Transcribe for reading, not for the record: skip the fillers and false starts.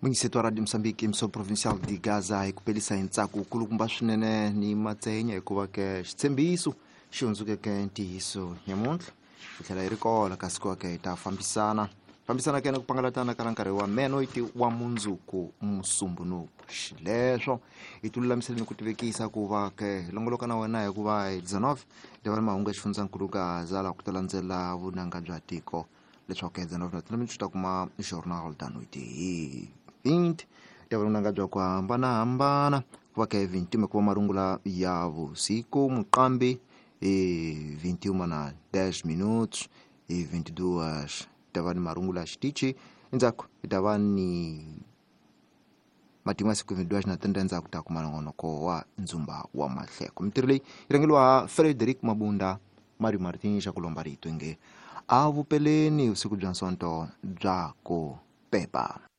Munyiseto wa Radio Mozambique, emissora provincial de Gaza, hi ku pelisa hi ntsako wukulukumba swinene ni matsenya, hikuva ke xitshembiso xi hundzukeke ntiyiso nyamuntlha hi tlhela hi ri kola, kasi ku ke hi ta fambisana fambisana ke na ku pangalatana ka nkarhi wa menoiti wa mundzuku musumbunuku. Xileswo hi tilulamisele ni ku tivekisa ku va ke hi longoloka na wena, hikuva hi 19 hi ta va ni mahungu ya xifundzankulu Gaza, laha ku ta landzela vunanga bya tiko, leswaku ke 19 na 30 swi ta kuma Jornal da Noite. Hi 20 ta va vunanga bya ku hambanahambana, ku va ke 21 ku va marungula ya vusiku muqambi, hi 21 na 10 minutos. Hi 22 ta va ni marungula ya xitichi, endzhaku hi ta va ni matimu ya siku. 22 na 30 endzhaku ta kuma nongonoko wa Ndzumba wa Mahleko. Mintirho leyi yi rhangeliwa Frederick Mabunda, Mario Martin xa ku lomba rito nge a vupeleni vusiku bya Nsonto bya ku pepa.